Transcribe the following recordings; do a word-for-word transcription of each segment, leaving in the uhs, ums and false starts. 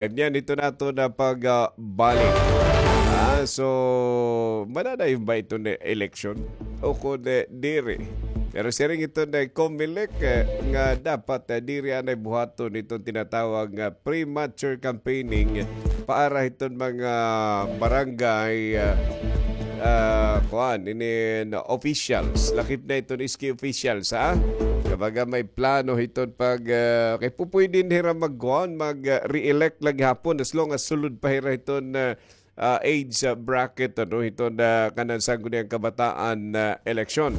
Ganyan ito nato na pagbalik. Ah, so, mananayon ba ito na eleksyon? O kung, eh, diri. Pero siring ito na Comelec, eh, nga dapat, eh, diri anay buhaton itong tinatawag nga premature campaigning para hiton mga barangay, ah, ah, kuan, inin officials. Lakip na iton S K officials, ha? Kumbaga may plano hiton pag, ah, kay pupwede hira magkuan, mag, ah, re-elect lagi hapon as long as sulod pa hira hiton, ah, ah, age, ah, bracket, ano, hiton, ah, kanan Sangguniang Kabataan, ah, eleksyon.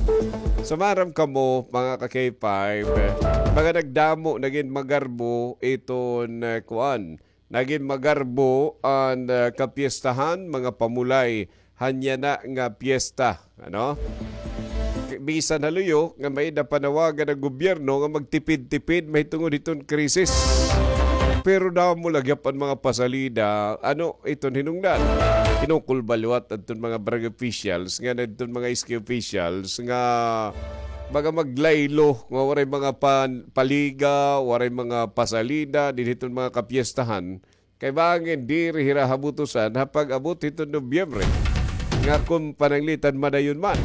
So, maaram kamo, mga ka K five, eh, mga nagdamo, nagin magarbo iton, ah, kuan, nagin magarbo an, ah, kapiestahan, mga pamulay, han yana nga piyesta, ano? Bisan ha luyo nga may-ada panawagan an gobyerno nga magtipid-tipid mahitungod hiton krisis. Pero damo lagi an mga pasalida, ano, iton hinungdan. Kinukulba liwat adton mga barangay officials, nga adton mga S K officials, nga baga maglaylo, nga waray mga pan-, paliga, waray mga pasalida, dinhi hiton mga kapiestahan. Kay bangin diri hira habutusan ha pag-abot hiton Nobyembre nga kon pananglitan madayon man.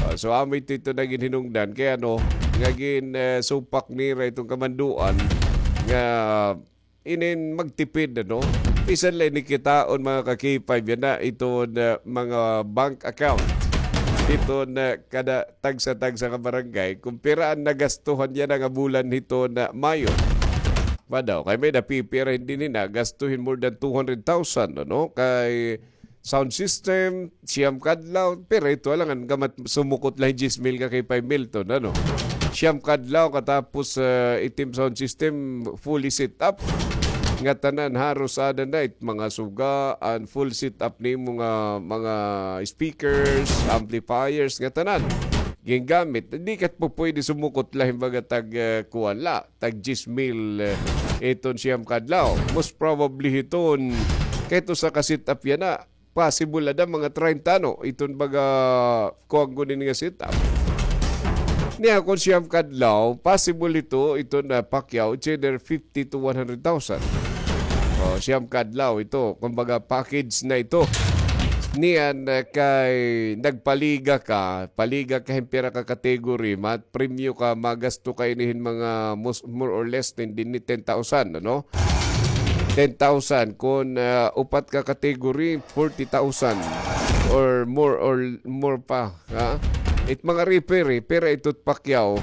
Ah, so, amo ito, ito nagin hinungdan kay ano, nga gin, eh, supak nira iton kamanduan nga inin magtipid, ano? Bisan la ini kitaon, mga ka K five, yana iton, eh, mga bank account. Iton, eh, kada tagsa-tagsa ka barangay, kung pira an nagastuhan yana nga bulan hiton, ah, Mayo. Ba daw, kay may napipira hindi ni nagastuhin more than two hundred thousand, ano? Kay sound system, siyam kadlaw, pero ito lang, an gamat sumukot lang diyes mil ka kay five Milton, ano? Siyam kadlaw, katapos, ah, itim sound system, fully set up. Nga tanan, haros ada na it mga suga, an full set up nimo nga mga speakers, amplifiers, nga tanan. Gingamit, di kat po pwede sumukot lang, baga tag, ah, kuwan la, tag diyes mil, eh, iton siyam kadlaw. Most probably hiton, kahit usa ka set up yana, possible ada mga treinta, no? Iton baga, kuwan ko din nga set up. Niya, kung siyam kadlaw, possible ito, ito na Pacquiao, it's either fifty to one hundred thousand. O, siyam kadlaw ito. Kumbaga, package na ito. Niyan, eh, kay nagpaliga ka, paliga ka hin pira ka category, mat-, premyo ka, magasto ka ini hin mga mos-, more or less din, din ni ten thousand, ano? Ten thousand. Kung, ah, upat ka category, forty thousand or more, or more pa, ha? It mga referee, pira ito Pacquiao.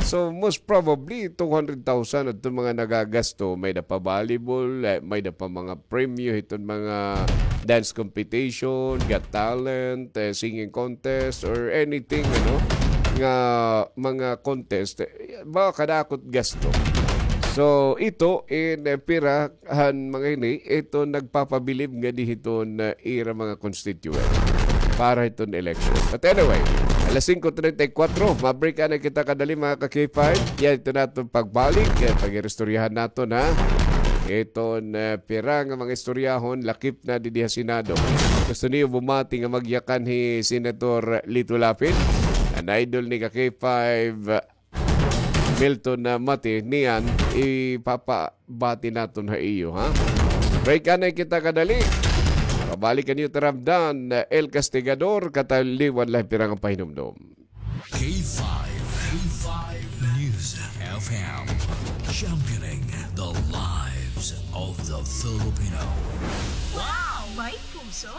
So, most probably, two hundred thousand adto mga nagagasto. May-ada pa volleyball, eh, may-ada pa mga premyo hiton mga dance competition, Got Talent, eh, singing contest, or anything, ano, nga mga contest, eh, ba kadakot gasto. So, ito in, eh, pira han mga ini, ito nagpapabilib nga di hiton, eh, ira mga constituent para hiton election. But anyway, alas singko treinta y cuatro, ma-break na kita kadali, mga ka K five. Yan, ito naton pagbalik, eh, pag-iristoryahan naton, ha? Iton, eh, pira nga mga istoryahon, lakip na didi ha Senado. Gusto niyo bumati nga magyakan hi Senator Lito Lapid? An idol ni ka K five, Milton, ah, Mati, niyan, ipapabati naton ha iyo, ha? Break anay kita kadali. Pabalik an iyo taramdan, El Castigador, kataliwan la hin pira nga pahinumdom. K five, K five News F M, championing the lives of the Filipino. Wow! May puso!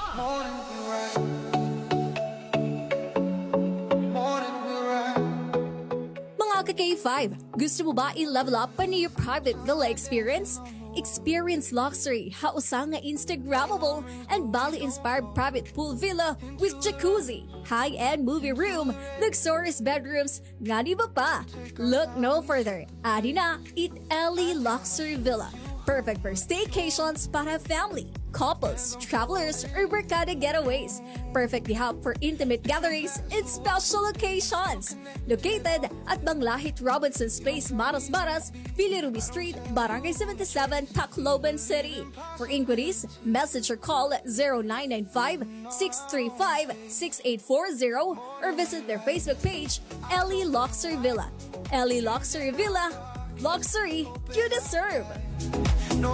Mga ka K five, gusto mo ba i-level up an iyo private villa experience? Experience luxury ha usa nga Instagrammable and Bali-inspired private pool villa with jacuzzi, high-end movie room, luxurious bedrooms, ngan iba pa. Look no further. Adi na it Ellie Luxury Villa. Perfect for staycations para family, couples, travelers, or barkada getaways. Perfect di hub for intimate gatherings and special occasions. Located at Banglahit Robinson's Place, Maras Maras, Bilirubin Street, Barangay seventy-seven, Tacloban City. For inquiries, message or call zero nine nine five, six three five, six eight four zero or visit their Facebook page, Ellie Luxury Villa. Ellie Luxury Villa, luxury you deserve.